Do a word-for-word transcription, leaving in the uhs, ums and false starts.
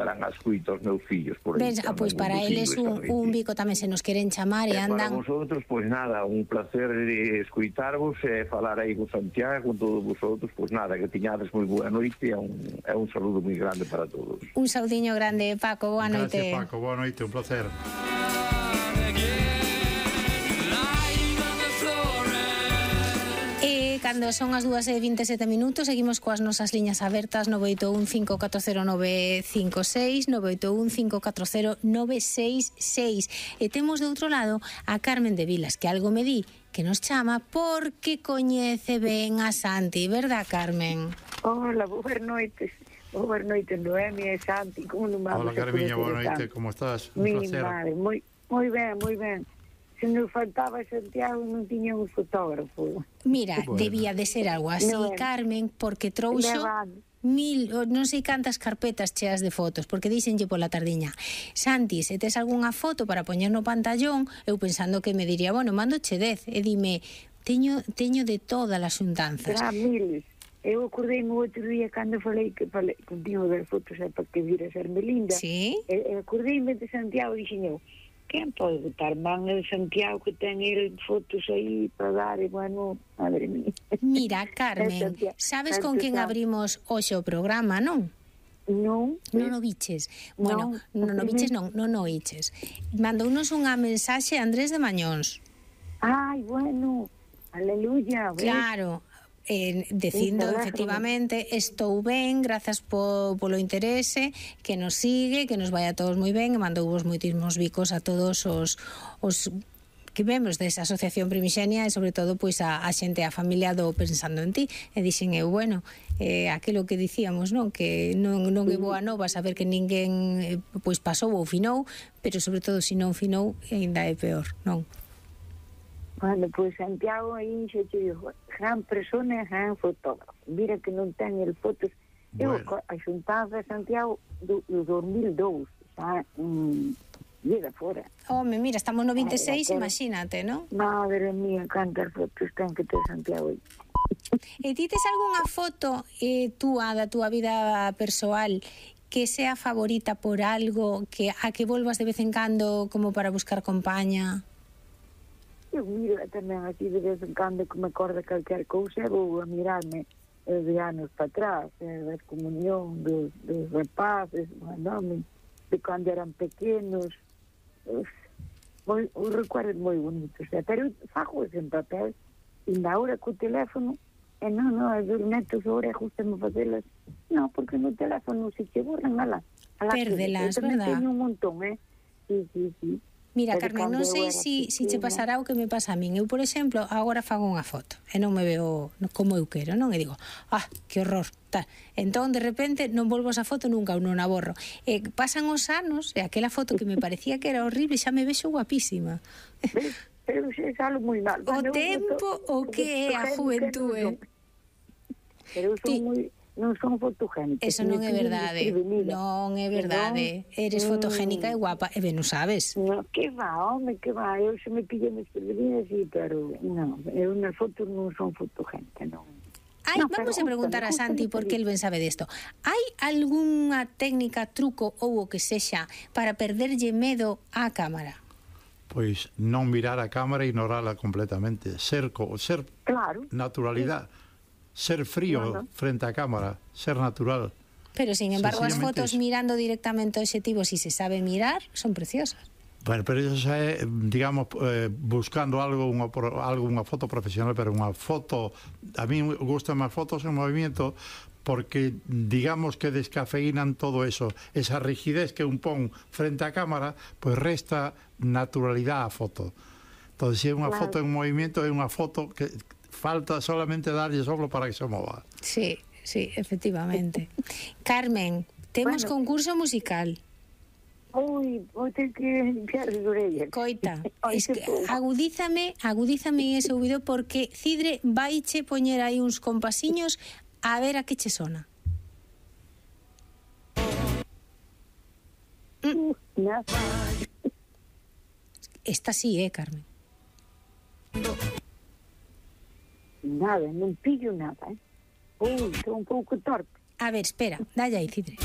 darán as cuitas aos meus fillos por aí. Ves, ah, pois para eles un, un bico tamén se nos queren chamar e andan... Para vosotros, pois nada, un placer de escuitarvos e falar aí con Santiago, con todos vosotros, pois nada, que tiñades moi boa noite e un, é un saludo moi grande para todos. Un saudiño grande, Paco, boa noite. Gracias, Paco, boa noite, un placer. Cando son as dúas e vinte e sete minutos seguimos coas nosas liñas abertas nove oito un cinco catro cero nove cinco seis nove oito un cinco catro cero nove seis seis e temos de outro lado a Carmen de Vilas, que algo me di que nos chama porque coñece ben a Santi, verdad, Carmen? Hola, boas noites. Boas noites, Noemia e Santi, como non vamos? Hola, Carmiña, boa noite, como estás? Un Mi placer. madre, moi, moi ben, moi ben. Se nos faltaba Santiago non tiña un fotógrafo. Mira, Bueno. debía de ser algo así, No, Carmen, porque trouxo Levando. mil, o non sei cantas carpetas cheas de fotos, porque díxenlle pola tardiña: Santi, se tes algunha foto para poñer no pantallón, eu pensando que me diría, bueno, mando che dez, e dime, teño, teño de todas as xuntanzas. Será miles. Eu acordei-me o outro día cando falei que falei contigo das fotos é para que vira ser Melinda. Sí? E, e acordei-me de Santiago e dixen eu, quen pode botar man de Santiago que ten el fotos aí para dar e bueno, madre mía. Mira, Carmen, sabes con quen abrimos hoxe o programa, non? Non, Non o biches. Bueno, non o biches non, non o biches. Mandounos unha mensaxe a Andrés de Mañóns. Ai, bueno, aleluya. ¿ves? Claro, eh, dicindo Sí, efectivamente estou ben, grazas po, polo interese, que nos sigue, que nos vai a todos moi ben, e mandou vos moitísimos bicos a todos os, os que membros desa asociación Primixenia e sobre todo pois a, a xente, a familia do Pensando en Ti, e dixen eu, bueno, eh, aquilo que dicíamos, non, que non, non é boa nova saber que ninguén eh, pois pasou ou finou, pero sobre todo se non finou ainda é peor, non? Bueno, pois Santiago aí xe te digo, gran persona e gran fotógrafo. Mira que non ten el fotos. Eu Bueno. a xuntanza de Santiago do, do dos mil dous, xa, mm, llega fora. Home, mira, estamos no vinte e seis, Ai, imagínate, non? Madre mía, cantas fotos ten que ter Santiago aí. E ti tes algunha foto eh, túa da túa vida persoal que sea favorita por algo, que a que volvas de vez en cando como para buscar compaña? Eu miro tamén así de vez en cando que me acorda calquer cousa, vou a mirarme eh, de anos para atrás, eh, da comunión dos, dos rapaces, non, de cando eran pequenos, uf, moi, os recuerdos moi bonitos, eh, pero fago en papel, e na hora co teléfono, e non, non, as dos netos agora justame facelas, non, porque no teléfono se che borran, ala, ala Pérdelas, que, eu tamén verdad? teño un montón, eh, sí, sí, sí. Mira, Pero Carmen, non cando eu sei era si, si che pequena- pasará o que me pasa a min. Eu, por exemplo, agora fago unha foto e non me veo como eu quero, non? E digo, ah, que horror, tal. Entón, de repente, non volvo a esa foto nunca ou non a borro. E pasan os anos e aquela foto que me parecía que era horrible xa me vexo guapísima. ¿Ves? Pero se é algo moi mal. O Bueno, eu tempo, o foto- que é a fotogénica juventude. non son. Pero eu son Ti- moi, non son fotogénica. Eso non é verdade. Non é verdade. Eres fotogénica e guapa. E ben, non sabes. No, que va, home, que va. Eu se me pillan desprevenida, sí, pero non. Eu nas fotos non son fotogénica, non. Ai, No, vamos pero a preguntar a gústame, Santi gústame porque el ben sabe desto. Hai algunha técnica, truco ou o que sexa para perderlle medo á cámara? Pois non mirar a cámara e ignorala completamente. Ser, co- ser Claro. naturalidad. Ser frío No, no. frente á cámara. Ser natural. Pero, sin embargo, as Sencillamente fotos eso. mirando directamente ao obxectivo, si se sabe mirar, son preciosas. Bueno, pero eso xa é, digamos, eh, buscando algo, unha, pro- algo, unha foto profesional, pero unha foto, a mí gustan máis fotos en movimiento porque digamos que descafeinan todo eso, esa rigidez que un pon frente á cámara, pois resta naturalidade á foto. Entón, se é unha Claro. foto en movimiento, é unha foto que falta solamente darlle soplo para que se mova. Sí, sí, efectivamente. Carmen, temos Bueno. concurso musical. Ui, vou ter que limpiar as orellas. Coita, Ai, es que que pouco. agudízame, agudízame ese ouvido porque Cidre vaiche poñer aí uns compasiños a ver a que che sona. Uh, nada. Esta sí, eh, Carmen. Nada, non pillo nada, eh. Ui, estou un pouco torpe. A ver, espera, dalle aí, Cidre.